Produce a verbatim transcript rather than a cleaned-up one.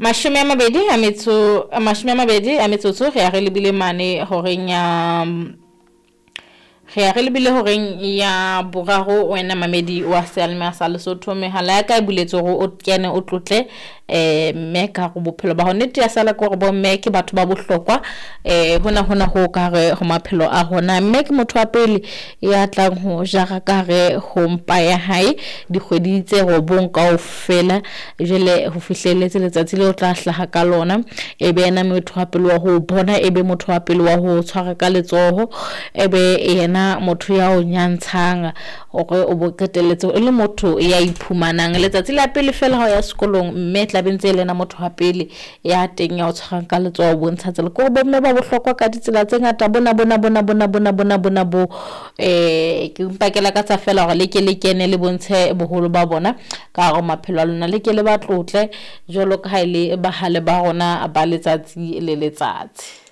Mashome a mabedi a metso mashome a mabedi a metsotso re ya re lebile mane horeng ya re ya re lebile horeng ya boraro. Wena mamedi wa seyalemoya sa Lesotho, mehala ya ka e buletswe hore o kene o tlotle eh mme ka hare bophelo ba hao. Nnete ya sala ke hore bomme ke batho ba bohlokwa eh hona hona ho ka hare ho maphelo a rona. Mme ke motho wa pele ya tlang ho jara ka hare ho mpa ya hae dikgwedi tse robong kaofela, jwale ho fihlelletse letsatsi leo o tla hlaha ka lona. E be yena motho wa pele wa ho bona, e be motho wa pele wa ho tshwara ka letsoho, e be yena motho ya o nyantshang hore o bo qetelletse o le motho ya iphumanang. Letsatsi la pele fela ha o ya sekolong, mme tla be ntse e le yena motho wa pele ya teng ya o tshwarang ka letsoho, o bontsha tsela. Ke hore bomme ba bohlokwa ka ditsela tse ngata, bona bona bona bona bona bona bona bo eh ke mpa ke lakatsa fela hore le ke le kene le bontshe boholo ba bona ka hare ho maphelo a lona, le ke le ba tlotle jwalo ka ha e le bahale ba rona ba letsatsi le letsatsi.